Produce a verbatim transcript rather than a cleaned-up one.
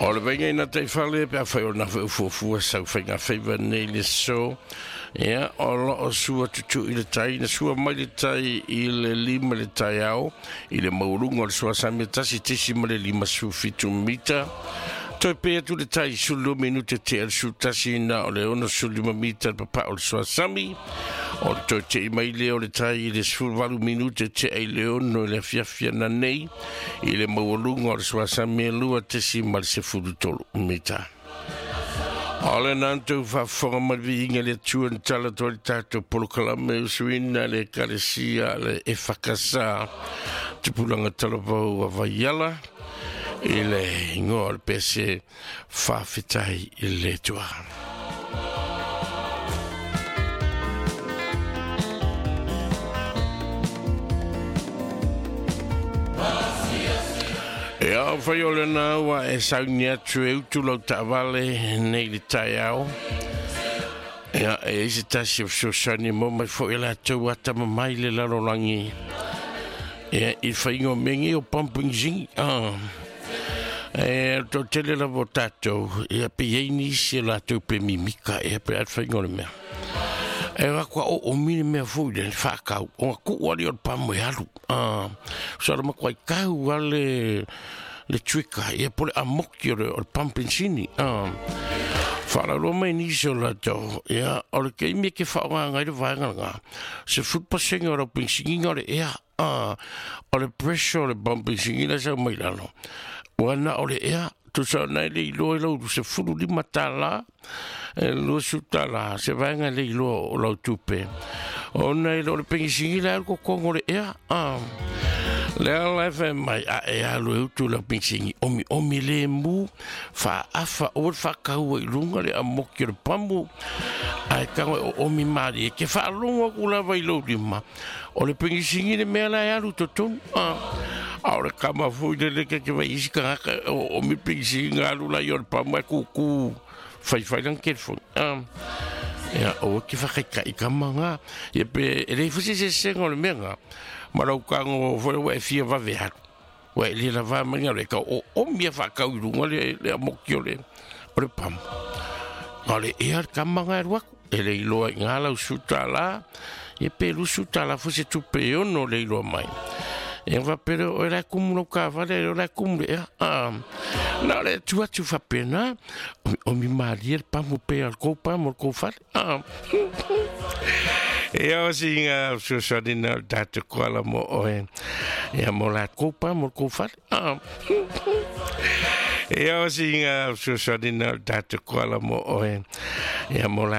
O le vainga ina taifale pe a fai o na fuafua sau faiga faiva nei le so. Ia, o lo o sua tutu i le tai, na sua mai le tai i le lima le tai ao, i le maulunga o le sua sami tasi tisi ma le lima su fitu mita. Toi pe atu le tai sulu minute te al su tasi na o le ono sulu lima mita le papa o le sua sami. O le toi te i mai le o le tai i le sefuluvalu minute te ai le ono i le afiafi na nei, i le maualuga o le sua sami e lua tesi ma le sefulu tolu mita. O le nantou faafofoga mai le viiga le Atua na tala atu ai le tatou polokalame usuina le ekalesia le Efakasa tupulaga talavou a Vaiala i le igoa o le pese faafetai i le Atua. Ia o whai o lena ua e sauni atu e utu lau taavale nei le taeao. Ia e isi tasi o fesoasoani mo mai foi e latou atama mai le lalolagi. Ia i whainga o mengi o pumping zingi. Ah. E tau tele lava o tātou. Ia pe iai nisi e latou pe mimika. Ia pe at whainga o le mea. E wakua o o mine mea fui le whakau. O ngā kuu ali o le pamu e alu. Ah, so ala makua i kau ale le trika. Ia pole a moki o le, o le pampensini. Ah, whaalaroa mai nisi o latou. Ia, o le keimi e ke whaonga ngai le vaenga ngā. Se futpasenga o rau pensinginga o le ea. Ah, o le pressure o le pampensingi la sau mai lalo. Wana o le ea. Tusa nei le iloa i lau se fulu lima tālā, e lua su tālā, se vaenga le iloa o lau tupe. O nei o le pengisingi la alu kokongo le ea. Ah. Le ala e whai mai a e alu e utu lau pengisingi. Omi omi le mu, wha afa o le whakaua i lunga le amoki o le pamu. Ai kango e o omi maari e ke whaalongo aku lava i lau lima. O le pengisingi le mea la e alu totonu. Ah. A o le kama fui le le ke ke vai isi kangaka o o mi pengisingi ngā alu lai o le pamu e kuku whai whai lang telefoni. Ah. Ia, o ke whakaika i kama ngā. Ia pe, e lei fusi se senga o le mea ngā. Ma lau kango fole ua e fia vave alu. Ua e le lava mai ngā le ka o o mia whakau i runga le, le amoki o le, o le pamu. Ngā le ea le kama ngā e ruaku. E le iloa i ngā lau suta la. Ia pe lusu tā la fusi tupe e ono le iloa mai. E whapere o e lai kumu lau kāwale, o lai kumu le ea. Ah. Nā le tu atu whapena, o mi maari le pamu pe al kou pamu al kou whale. Ah. E o si ngā fesoasoani na o tātou koala mo oe. Ia mo la kou pamu al kou whale. Ah. E o si ngā fesoasoani na o tātou koala mo oe. Ia mo la